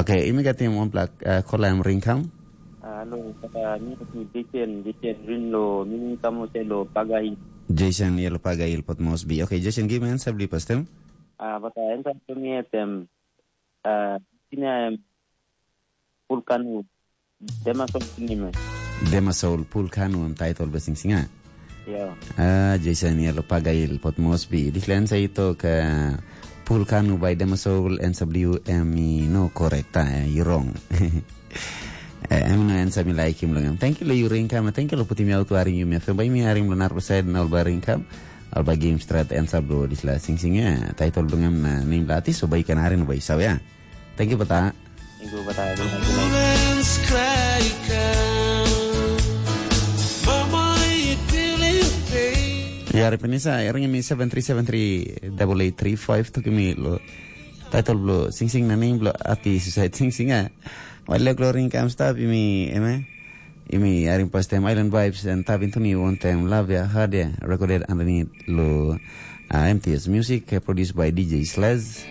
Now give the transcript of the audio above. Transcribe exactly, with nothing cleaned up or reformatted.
Okay, imi gat im wanpela uh, kola em ring kam. Alo, kata ni tu Jason, Jason rin lo, ni ni kamu se lo pagai. Jason yelo pagai il pot mosbi. Okay, Jason, give me answer bli pastem. Ah, bata ensa tu mi etem. Ah, sini em pulkanu. Dema so sini me. Dema soul pulkanu em title besing singa. Ya. Ah, Jason yelo pagai il pot mosbi. Dispela answer ito ka pulkanu by Dema soul answer bliu em i no correct. Ah, you wrong. Eh, em no answer mi laikim long em. Thank you lo you ring kam. Thank you lo putim out waring you me. Bai mi harim lo narpa side na ol ba ring kam. Al ba game strat answer blo dispela sing sing ya. Title blo em na name la artist so bai kan harim bai saw ya. Thank you bata. Thank you bata. Ya, Repenisa, ring mi seven three seven three double eight three five to give me lo title blo sing sing na name blo artist side sing sing ya. Wale glory kam stop imi eme. Imi harim pastem Island Vibes and Tabin Tuni one time love ya hard ya recorded underneath lo uh, M T S Music uh, produced by D J Slaz.